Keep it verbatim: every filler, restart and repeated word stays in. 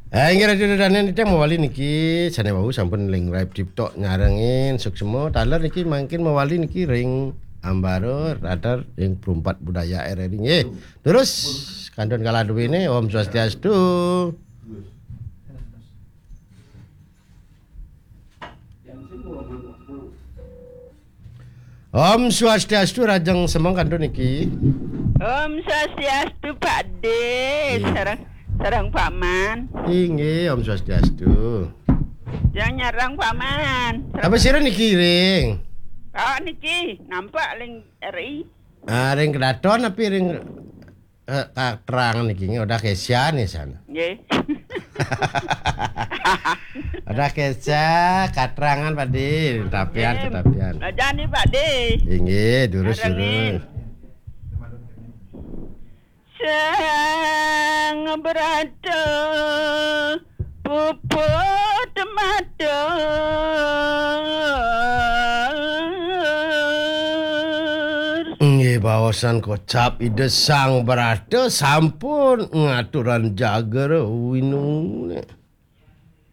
Eh, inggih, Radio Danian, titiang mawali niki, sané wau sampun ring Live TikTok nyarengin suksma. Taler niki mangkin mawali niki ring ambara radar ring Perumpat Budaya R R I nggih. Terus kantun kala duwéné, Om Swastiastu. Om Swastiastu, rahajeng semeng kantun niki. Om Swastiastu, Pak De. Sareng, sareng Pak Man. Inggih, Om Swastiastu. Yang nyarang Pak Man. Apa sira niki ring? Oh, niki nampak ring R I. Ah, ring kedaton apa ring, eh, katrangan niki? Nggih, udah kesian nih sana. Nggih. Udah kesian, katrangan Pak De, tetapian, nggih, tetapian. Belajar nih, Pak De. Inggih, durus, durus. Sang Brata puput matur. Nggih, baosan kocap Ida Sang Brata sampun ngaturan jager winune.